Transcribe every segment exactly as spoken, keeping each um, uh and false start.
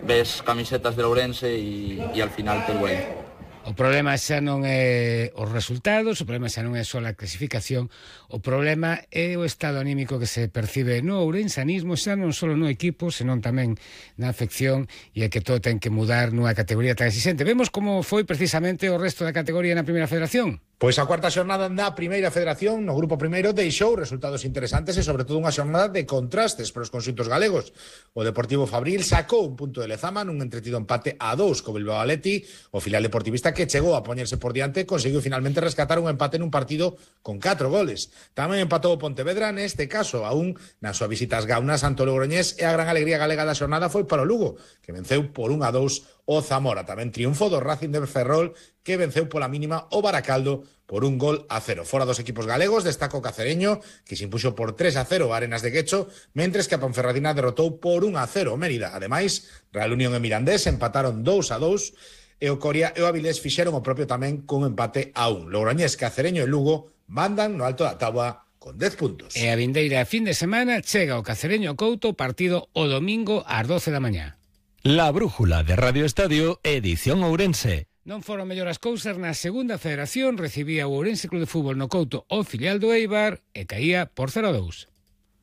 ves camisetas de Ourense e, e al final te duele. O problema xa non é os resultados, o problema xa non é só a clasificación, o problema é o estado anímico que se percibe no ourensanismo, xa non só no equipo, senón tamén na afección, e é que todo ten que mudar nunha categoría tan exigente. Vemos como foi precisamente o resto da categoría na Primeira Federación. Pois a cuarta xornada da Primeira Federación no grupo primeiro deixou resultados interesantes e sobre todo unha xornada de contrastes para os conxuntos galegos. O Deportivo Fabril sacou un punto de Lezama nun entretido empate a dous co Bilbao Athletic. O filial deportivista que chegou a poñerse por diante conseguiu finalmente rescatar un empate nun partido con catro goles. Tamén empatou o Pontevedra, neste caso a un nas súas visitas Gaunas ante o Logroñés, e a gran alegría galega da xornada foi para o Lugo, que venceu por un a dous o Zamora. Tamén triunfo do Racing de Ferrol, que venceu pola mínima o Baracaldo por un gol a cero. Fora dos equipos galegos, destaca o Cacereño, que se impuxo por tres a cero a Arenas de Guecho, mentres que a Ponferradina derrotou por un a cero o Mérida. Ademais, Real Unión e Mirandés empataron dous a dous, e o Coria e o Avilés fixeron o propio tamén con empate a un. Logroñés, Cacereño e Lugo mandan no alto da táboa con dez puntos. E a vindeira fin de semana chega o Cacereño Couto, partido o domingo ás doce da mañá. La Brújula de Radio Estadio, edición Ourense. Non foron mellor as cousas na segunda federación, recibía o Ourense Club de Fútbol no Couto o filial do Eibar e caía por cero a dous.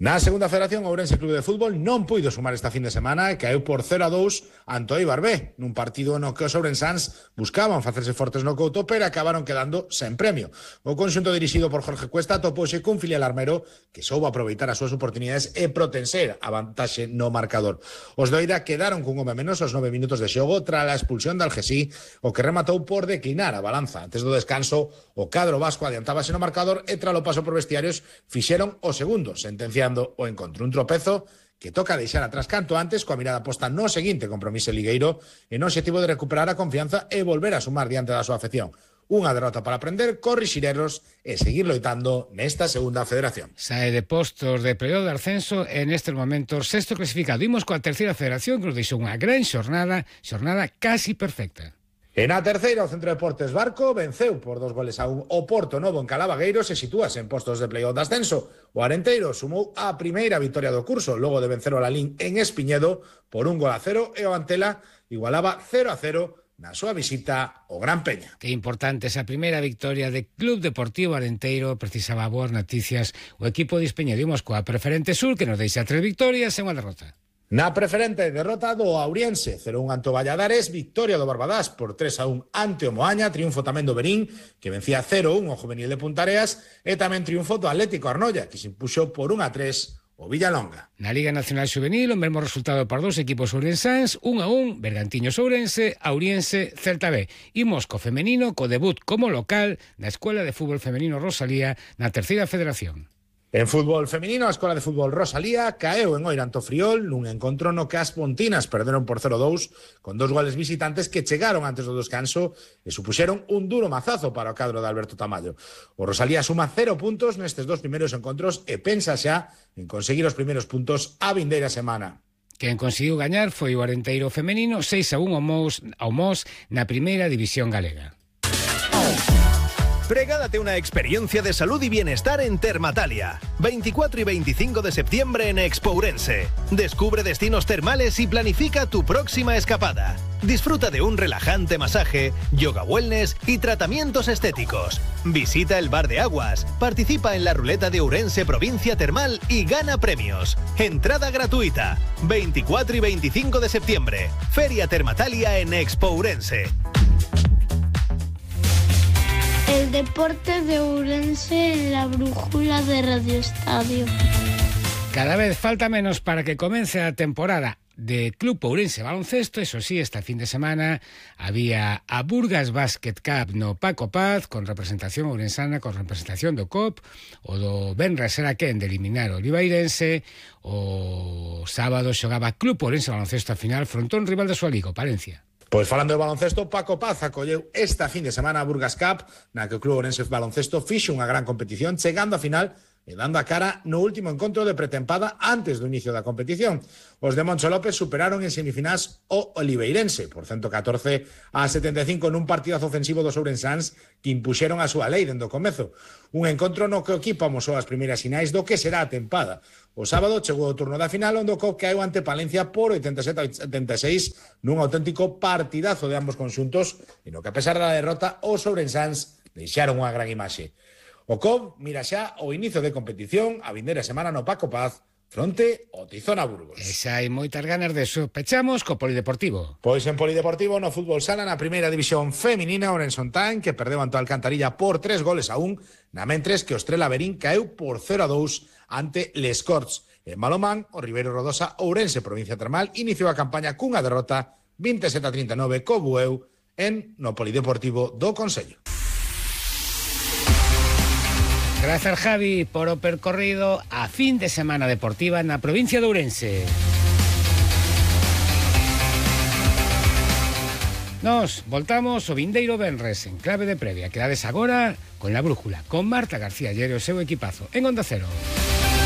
Na segunda federación, o Ourense Club de Fútbol non puido sumar esta fin de semana e caeu por cero a dous ante o Eibar B, nun partido no que os ourensáns buscaban facerse fortes no Couto, pero acabaron quedando sen premio. O conxunto dirixido por Jorge Cuesta topouse cun filial armero que soubo aproveitar as súas oportunidades e protenser a vantaxe no marcador. Os do Eira quedaron cun home menos aos nove minutos de xogo tras a expulsión de Algesí, o que rematou por declinar a balanza. Antes do descanso, o cadro vasco adiantábase no marcador e tras o paso por vestiarios fixeron o segundo, sentenciando o encontrou un tropezo que toca deixar atrás canto antes, coa mirada posta no seguinte compromiso ligueiro e no objetivo de recuperar a confianza e volver a sumar diante da súa afección. Unha derrota para aprender, corrixir erros e seguir loitando nesta segunda federación. Sae de postos de período de ascenso e nestes momentos sexto clasificado. Imos coa terceira federación que nos deixou unha gran xornada, xornada casi perfecta. E na terceira, o Centro Deportes Barco venceu por dos goles a un o Porto Novo en Calavagueiro, se sitúase en postos de play-off de ascenso. O Arenteiro sumou a primeira victoria do curso, logo de vencer o Lalín en Espiñedo por un gol a cero, e o Antela igualaba cero a cero na súa visita ao Gran Peña. Que importante esa primeira victoria de Club Deportivo Arenteiro, precisaba boas noticias o equipo de Espeñedo. Imos coa Preferente Sur, que nos deixa tres victorias e unha derrota. Na Preferente, derrota do Auriense, cero a un ante o Valladares, victoria do Barbadás por tres a un ante o Moaña, triunfo tamén do Berín, que vencía cero a un o Juvenil de Puntareas, e tamén triunfo do Atlético Arnoia, que se impuxo por un a tres o Villalonga. Na Liga Nacional Xuvenil, o mesmo resultado para dos equipos ourensáns, un a un, Bergantiños Ourense, Auriense, Celta B. Imos co femenino, co debut como local na Escuela de Fútbol Femenino Rosalía na terceira federación. En fútbol femenino, a Escola de Fútbol Rosalía caeu en Oira ante o Friol nun encontro no que as pontinas perderon por cero a dous con dos goles visitantes que chegaron antes do descanso e supuxeron un duro mazazo para o cadro de Alberto Tamayo. O Rosalía suma cero puntos nestes dos primeiros encontros e pensa xa en conseguir os primeiros puntos a vindeira semana. Quen conseguiu gañar foi o Arenteiro femenino seis a un ao Mos, ao Mos na primeira división galega. Regálate una experiencia de salud y bienestar en Termatalia. veinticuatro y veinticinco de septiembre en Expo Ourense. Descubre destinos termales y planifica tu próxima escapada. Disfruta de un relajante masaje, yoga wellness y tratamientos estéticos. Visita el Bar de Aguas, participa en la ruleta de Ourense Provincia Termal y gana premios. Entrada gratuita. veinticuatro y veinticinco de septiembre. Feria Termatalia en Expo Ourense. El deporte de Ourense en la brújula de Radio Estadio. Cada vez falta menos para que comience a temporada de Club Ourense Baloncesto. Eso sí, esta fin de semana había a Burgas Basket Cup no Paco Paz, con representación ourensana, con representación do C O P, o do Benres era quen de eliminar o Olivairense. O sábado xogaba Club Ourense Baloncesto a final fronte a un rival de súa liga, o Palencia. Pois falando de baloncesto, Paco Paz acolleu esta fin de semana a Burgas Cup, na que o Club Ourense Baloncesto fixo unha gran competición, chegando a final e dando a cara no último encontro de pretempada antes do inicio da competición. Os de Moncho López superaron en semifinais o Oliveirense por ciento catorce a setenta e cinco nun partidazo ofensivo dos ourensáns que impuxeron a súa lei dende o comezo. Un encontro no que o equipo amosou as primeiras sinais do que será a tempada. O sábado chegou o turno da final onde o C O C caeu ante Palencia por oitenta e sete a setenta e seis nun auténtico partidazo de ambos conxuntos e no que a pesar da derrota os ourensáns deixaron unha gran imaxe. O C O V mira xa o inicio de competición a vindeira semana no Paco Paz fronte ao Tizona Burgos. E xa hai moitas ganas de eso. Pechamos co Polideportivo. Pois en Polideportivo no fútbol sala na primeira división feminina o Orensontán que perdeu ante o Alcantarilla por tres goles a un, na mentres que o Estrela Verín caeu por cero a dous ante Les Corts. En Malomán, o Ribeiro Rodosa Ourense, provincia termal, iniciou a campaña cunha derrota vinte e sete a trinta e nove co Bueu en no Polideportivo do Consello. Grazas, Javi, por o percorrido a fin de semana deportiva na provincia de Ourense. Nos voltamos o vindeiro venres en clave de previa. Quedades agora con La Brújula, con Marta García Llero e o seu equipazo en Onda Cero.